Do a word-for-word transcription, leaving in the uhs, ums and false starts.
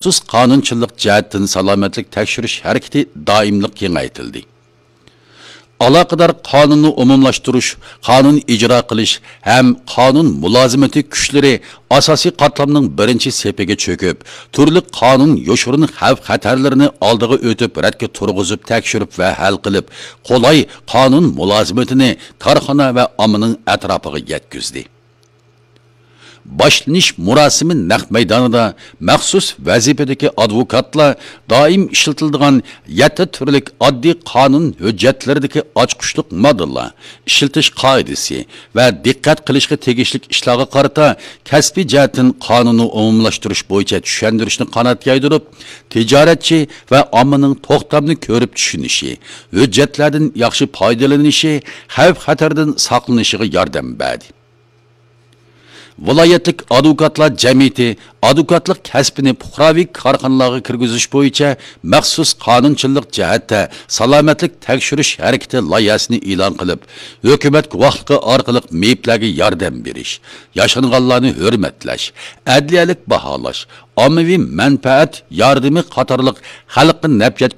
مەخسۇس قانۇنچىلىق جەھەتتىن سالامەتلىك تەكشۈرۈش ھەرىكىتى دائىملىق كېڭەيتىلدى. ئالاقىدار قانۇننى ئومۇملاشتۇرۇش، قانۇن ئىجرا قىلىش ھەم قانۇن مۇلازىمىتى كۈچلىرى ئاساسىي قاتلامنىڭ بىرىنچى سېپىگە چۆكۈپ، تۈرلۈك قانۇن يوشۇرۇن خەۋپ-خەتەرلىرىنى ئالدىغا ئۆتۈپ، رەتكە تۇرغۇزۇپ، تەكشۈرۈپ ۋە ھەل قىلىپ، قولاي قانۇن مۇلازىمىتىنى كارخانا ۋە ئاممىنىڭ ئەتراپىغا يەتكۈزدى. باشلىنىش مۇراسىمى نەق مەيدانىدا مەخسۇس ۋەزىپىدىكى ئادۋوكاتلار دائىم ئىشلىتىلىدىغان يەتتە تۈرلۈك ئاددىي قانۇن ھۆججەتلىرىدىكى ئاچقۇچلۇق ماددىلار، ئىشلىتىش قائىدىسى ۋە دىققەت قىلىشقا تېگىشلىك ئىشلارغا قارىتا كەسپىي جەھەتتىن قانۇننى ئومۇملاشتۇرۇش بويىچە چۈشەندۈرۈشنى قانات يايدۇرۇپ، تىجارەتچى ۋە ئاممىنىڭ توختامنى كۆرۈپ چۈشىنىشى، ھۆججەتلەردىن ياخشى پايدىلىنىشى، خەۋپ-خەتەردىن ساقلىنىشىغا ياردەم بەردى. ۋىلايەتلىك ئادۋوكاتلار جەمئىيىتى ئادۋوكاتلىق كەسپىنى پۇقراۋى كارخانىلارغا كىرگۈزۈش بويىچە مەخسۇس قانۇنچىلىق جەھەتتە سالامەتلىك تەكشۈرۈش ھەرىكىتى لايىھەسىنى ئېلان قىلىپ، ھۆكۈمەت گۇۋاھلىقى ئارقىلىق مېيىپلەرگە ياردەم بېرىش، ياشانغانلارنى ھۆرمەتلەش، ئەدلىيەلىك باھالاش، ئاممىۋى مەنپەئەت ياردىمى قاتارلىق خەلققە نەپ يەتكۈزۈش